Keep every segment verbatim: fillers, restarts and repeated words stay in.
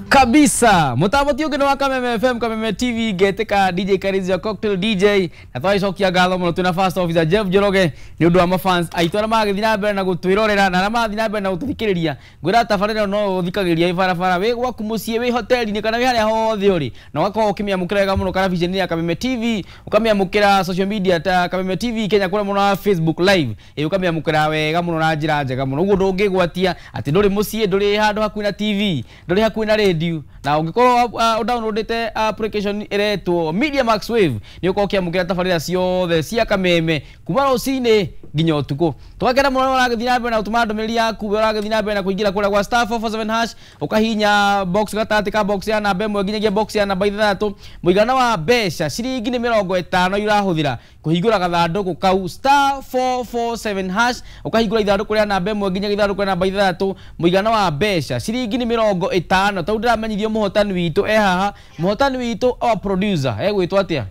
Kabisa mutambo ti ungi ni wa Kameme F M, Kameme T V, ngetika D J Karizia Cocktail D J, na twagicokia ngatho muno twina first officer Jeff Njoroge ni undu wa mafans aitu aria magithii na mbere na gutwirorera na aria marathiĩ na mbere na gututhikiriria. Ngwira tabarĩra no uthikagĩria barabara wi gwaku muciĩ wi hoteli-inĩ kana wi haria hothe uri, na ugakorwo ukimiamũkĩra wega mũno karabiceni ya Kameme T V, ukamiamũkĩra social media ta Kameme T V Kenya kũrĩa mũno wa Facebook Live, ĩ ukamiamũkĩra wega mũno na njĩra njega mũno. Ũguo ndũngĩgwatia atĩ ndũrĩ mũciĩ, ndũrĩ handũ hakuhĩ na T V, ndũrĩ hakuhĩ na radio, na ũngĩkorwo uh, downloadete application ĩretwo Media Max Wave nĩ ũkorwo ũkĩamũkĩra tabarĩra ciothe cia Kameme kuma rũcinĩ nginya ũtukũ. Tũgakena mũno ũragĩthiĩ na mbere na gũtũma ndũmĩrĩri yaku, we ũragĩthiĩ na mbere na kũingĩra kũrĩa gwa star four four seven hash, ũkahihinya box gatagatĩ ka box ya namba ĩmwe nginyagia box ya namba ithathatũ. Mũigana wa mbeca ciringi nĩ mĩrongo ĩtano irahũthĩra kũhingũra gathandũkũ kau star four four seven hash, ũkahingũra ithandũkũ rĩa namba ĩmwe nginyagia ithandũkũ rĩa namba ithathatũ. Mũigana wa mbeca ciringi nĩ mĩrongo ĩtano. Tondũ ndĩramenyithio mũhotani witũ e haha, mũhotani witũ our producer egwĩtwo atĩa?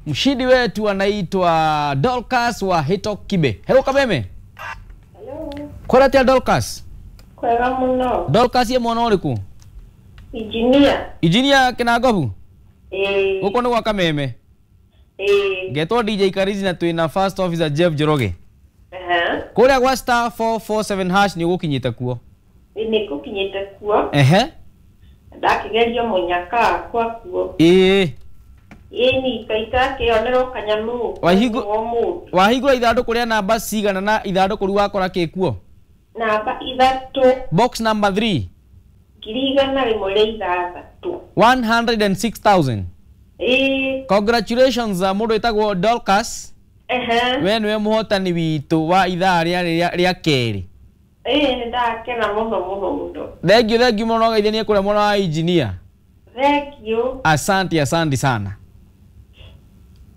Mshindi wetu anaitwa Dorcas wa Hito Kibe. Hello Kameme. Hello. Kwara Dorcas? Kwega muno. Dorcas ye mwana ũrĩkũ? Engineer. Engineer Kinangobu? Eh. Gũkũ nĩ gwa Kameme. Eh. Ngetwo D J Karizi na twina first officer Jeff Njoroge. Aha. Kũrĩa gwa star four four seven hash nĩ ũgũkinyĩte kuo? Nĩ ngũkinyĩte kuo. Ehe. Ndakigerio mũnyaka wakwa kuo. Ĩĩ. Ĩni kaita kĩonerwo kanyamu. Wahingũra ithandũkũ rĩa namba cigana na ithandũkũ rĩu wakora kĩ kuo? Namba ithatũ. Box number three. Ngiri igana rĩmwe rĩa ithathatũ. one hundred and six thousand. Ĩĩ. Congratulations mũndũ wĩtagwo Dorcas. Ehe. We nĩwe mũhotani witũ wa ithaa rĩa rĩa kerĩ. Ĩĩ nĩ ndakena mũno mũno mũno. Thank you, thank you mũno, geithanie kũrĩa mwena wa engineer. Thank you. Asante, asante sana.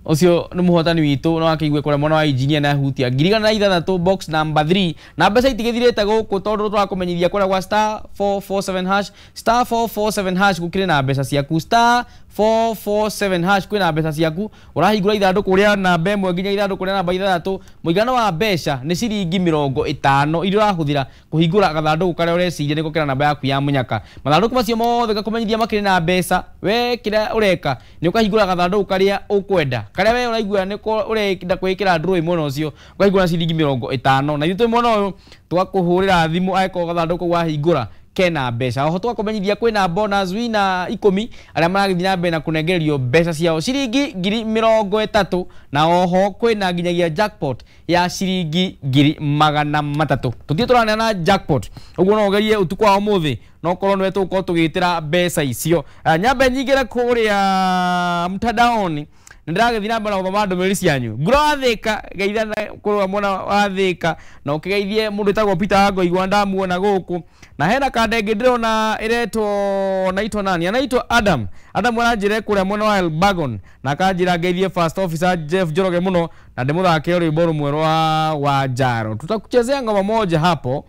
Ũcio nĩ mũhotani witũ no akĩigue kũrĩa mwena wa engineer na hutia ngiri igana na ithathatũ box number three, na mbeca itigĩthirĩte gũkũ tondũ tũrakũmenyithia kũrĩa gwa star four four seven hash, star four four seven hash gũkĩrĩ na mbeca ciaku, star four four seven hash kwĩna mbeca ciaku. Ũrahingũra ithandũkũ rĩa namba ĩmwe nginya ithandũkũ rĩa namba ithathatũ. Mũigana wa mbeca nĩ ciringi mĩrongo ĩtano iria ũrahũthĩra kũhingũra gathandũkũ karĩa ũreciria nĩko kena namba yaku ya mũnyaka. Mathandũkũ macio mothe ngakũmenyithia makĩrĩ na mbeca. We kĩrĩa ũreka nĩ ũkahingũra gathandũkũ karĩa ũkwenda, karĩa we ũraigua nĩko ũrenda kwĩkĩra draw mwena ũcio, ũkahingũra ciringi mĩrongo ĩtano. Na ithuĩ twĩ mwena ũyũ tũgakũhũrĩra thimũ angĩkorwo gathandũkũ wahingũra kena mbeca. Oho tũgakũmenyithia kwĩna bonus wina ikũmi arĩa maragĩthiĩ na mbere na kũnengererio mbeca ciao ciringi ngiri mĩrongo ĩtatũ, na oho kwĩna nginyagia jackpot ya ciringi ngiri magana matatũ. Tũthiĩ tũraneana jackpot, ũguo no ũgerie ũtukũ wa ũmũthĩ no korwo nĩwe tũgũkorwo tũgĩtĩra mbeca icio. Nyambe nyingĩre kũrĩa mtandaoni, nĩndĩragĩthiĩ na mbere na gũthoma ndũmĩrĩri cianyu. Nguro wa Thĩka geithana kũrĩa mwena wa Thĩka, na ũkĩgeithie mũndũ wĩtagwo Peter Wangoigwa ndamuona gũkũ. Na hena kanda ĩngĩ ndĩrona ĩretwo naitwo nani? Anaitwo Adam. Adam aranjĩra kũrĩa mwena wa Elbagon, na akanjĩra ngeithie first officer Jeff Njoroge mũno na ndĩmũthake rwĩmbo rũmwe rwa Wanjaro. Tutakuchezea ngoma moja hapo.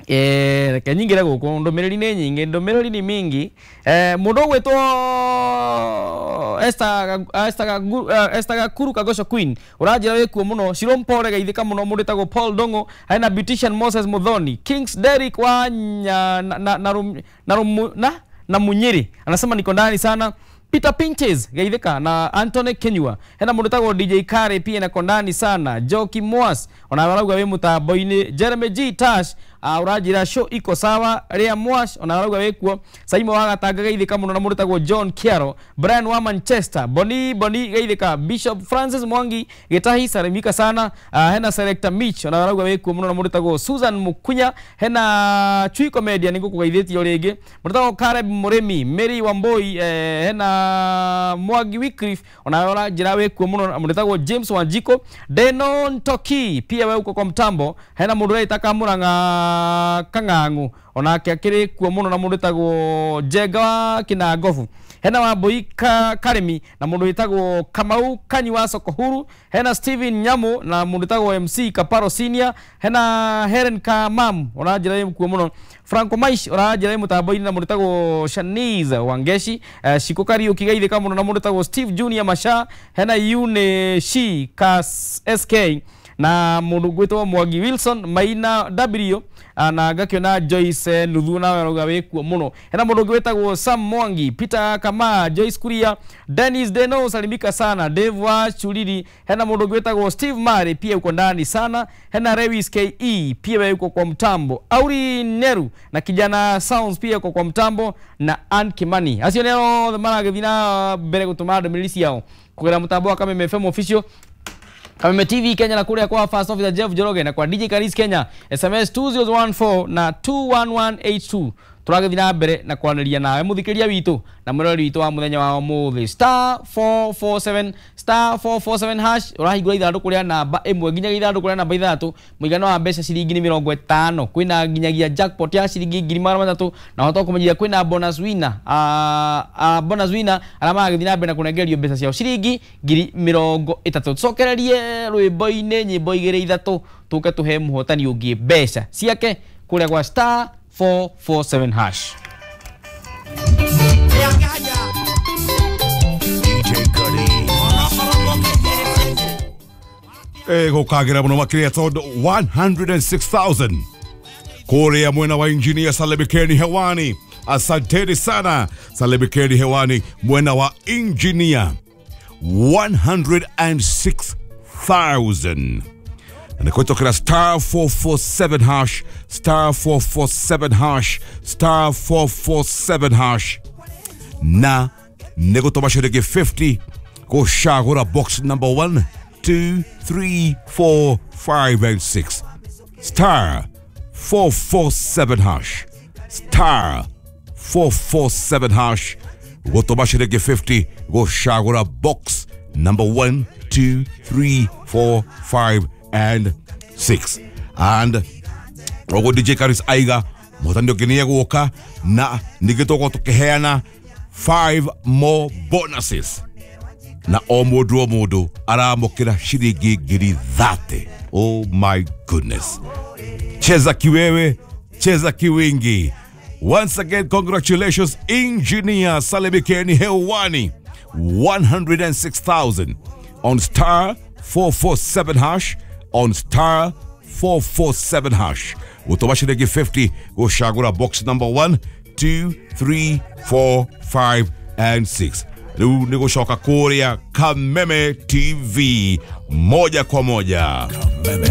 Eh, reke nyingĩre gũkũ, ndũmĩrĩri nĩ nyingĩ, ndũmĩrĩri ni mingi. Eh, mũndũ ũgwĩtwo Esther Esther Esther Gakuru Kagosho Queen ũranjĩra wĩkuo mũno. Shiro Mpore geithĩka mũno. Mũndũ wĩtagwo Paul Dongo, hena beautician Moses Muthoni, Kings Derrick wa na na na na, na, na Munyiri anasema niko ndani sana. Peter Pinches geithĩka na Anthony Kenyua, hena mũndũ wĩtagwo D J Kare pia nako ndani sana. Joki Mwas ona arauga wĩ mũtambo-inĩ. Jeremy G Tash uh, ũranjĩra show iko sawa. Ria Mwas ona arauga wĩkuo. Saimo wa Gatanga geithĩka mũno na mũndũ wĩtagwo John Kiaro, Brian wa Manchester, Boni Boni geithĩka, Bishop Francis Mwangi Gitahi salimika sana. Uh, hena Selector Mitch ona arauga wĩkuo mũno na mũndũ wĩtagwo Susan Mukunya, hena Chui Comedian nĩngũkũgeithĩtie rĩngĩ, mũndũ wĩtagwo Caleb Mũrĩmi, Mary Wamboi, eh, hena Mwangi Wycliffe ona ũranjĩra wĩkuo mũno na mũndũ wĩtagwo James Wanjiko, Denon Toki pia we uko kwa mtambo, hena mũndũ ũrĩa Kamũrang'a Kang'ang'u onake akĩrĩ kuo mũno na mũndũ wĩtagwo Njenga wa Kinangobu, hena Wambui Ka, Karimi na mũndũ wĩtagwo Kamau Kanyi wa Soko Huru, hena Steven Nyamu na mũndũ wĩtagwo M C Kaparo Senior, hena Helen Kamam ũranjĩra wĩ kuo mũno, Franco Maish ũranjĩra wĩ mũtambo-inĩ na mũndũ wĩtagwo Shanice Wangeshi, eh, Shiko Kariuki geithĩka mũno na mũndũ wĩtagwo Steve Junior Masha, hena Yune Shi Kas S K Na mundu gwitwo Mwangi Wilson Maina W na ngakiona Joyce Nuthu nawe arauga wikuo muno. Hena mundu gwitagwo Sam Mwangi, Peter Kama, Joyce Kuria, Dennis Deno salimika sana, Dave wa Chulili. Hena mundu gwitagwo Steve Mari pia uko ndani sana. Hena Lewis K E pia wewe uko kwa mtambo. Auri Neru na kijana Sounds pia uko kwa mtambo na Ann Kimani. Acio neo maragithii na mbere gutuma ndũmĩrĩri ciao kugera mutambo wa Kameme F M official, Kameme T V Kenya na kuria kwa First Officer Jeff Njoroge na kwa D J Karis Kenya S M S two zero one four na two one one eight two. Tũragĩthiĩ na mbere na kwaranĩria nawe mũthikĩria witũ na mwĩroreri witũ wa mũthenya wa ũmũthĩ. Star four four seven star four four seven hash ũrahingũra ithandũkũ rĩa namba ĩmwe nginyagia ithandũkũ rĩa namba ithathatũ, mũigana wa mbeca ciringi nĩ mĩrongo ĩtano. Kwĩna nginyagia jackpot ya ciringi ngiri magana matatũ na ũhote kũmenyithia kwĩna bonus winner, a a bonus winner arĩa maragĩthiĩ na mbere na kũnengerio mbeca ciao ciringi ngiri mĩrongo ĩtatũ. Tũcokererie rwĩmbo-inĩ nyĩmbo igĩrĩ ithatũ tũke tũhe mũhotani ũngĩ mbeca ciake kũrĩa gwa star four four seven hash. D J Cuddy. Eh, gukagira muno makiria tondu one hundred and six thousand kuria mwena wa engineer Salimikeni hewani. Asanteni sana Salimikeni hewani mwena wa engineer one hundred and six thousand. Na kutokera star four four seven hash, star four four seven hash, star four four seven hash. Na nigutoma ciringi fifty gucagura box number one, two, three, four, five and six. Star four four seven hash, star four four seven hash. Gutoma ciringi fifty gucagura box number one, two, three, four, five and six. And ogo D J Karis aiga mutandi ũngĩ guoka na ningĩ tukiheana five more bonuses na o mũndũ o mũndũ aramũkĩra ciringi ngiri thate. Oh my goodness. Cheza kiwewe, cheza kiwingi. Once again, congratulations Engineer Salimikeni hewani one hundred and six thousand on star four four seven hash, on star four four seven hash. Gutoma ciringi fifty gucagura box number one, two, three, four, five and six. Riu ni gucoka kuria Kameme T V moja kwa moja. Kameme.